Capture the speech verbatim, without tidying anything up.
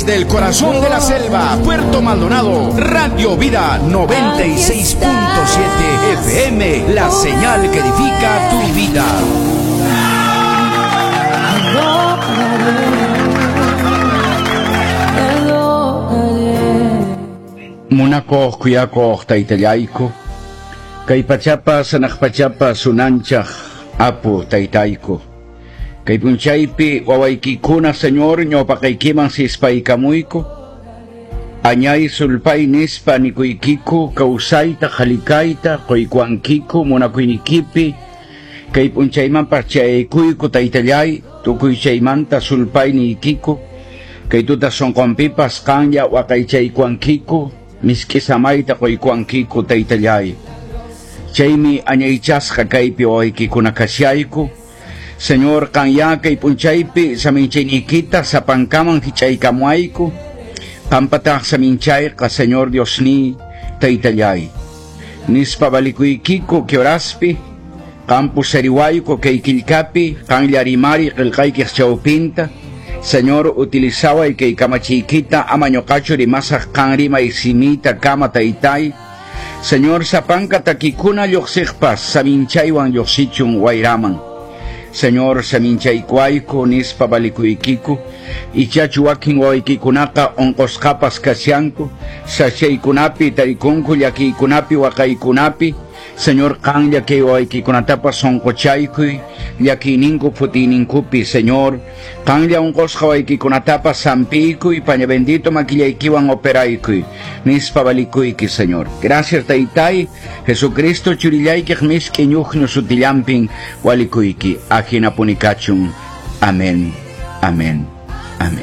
Desde el corazón de la selva, Puerto Maldonado, Radio Vida noventa y seis punto siete F M, la señal que edifica tu vida. Munakuq kuyakuq taytallayku, kay pachapas hanaq pachapas unanchaq apu taytayku. Kay punchaypi wawaykikuna Señor ñawpaqaykiman sispaykamuyku, añay sulpay nispa nikuykiku, kawsayta halikayta quykuankiku munakuynikipi, kay punchaymanpas chayaykuyku taytallay, tukuy chaymanta sulpay niykiku, kay tuta sunqunpipas qanlla waqaychaykuankiku, misk'i samayta quykuankiku taytallay. Chaymi añaychasqa kaypi wawaykikuna kashayku. Señor, qanya kay punchaypi saminchayniykita sapankaman hich'aykamuayku, qampataq saminchayqa, Señor Diosniy, taytallay. Nispa valikuykiku kioraspi, qan pusariwayku kay killkapi, qanlla rimari qillqaykiq chawpinta. Señor, utilizaway kay kamachiykita ama ñuqachu rimasaq qan rimay simita kama taytay. Señor, sapanka takikuna lluqsiqpas saminchaywan lluqsichun wayraman. Señor, saminchaykuayku nispa valikuykiku, ichachu wakin wawaykikunaqa unqusqapas kashanku, sachaykunapi tarikunku llakiykunapi waqaykunapi. Señor, qanlla kay wawaykikunatapas sunquchaykuy, llakiyninku phutiyninkupi, Señor, qanlla unqusqa wawaykikunatapas sampiykuy, paña bendito makillaykiwan operaykuy, nispa valikuyki, Señor. Gracias, taytay, Jesucristo churillaykiq misk'i ñuqñu sutillampin walikuyki, ajinapunikachun. Amén. Amén.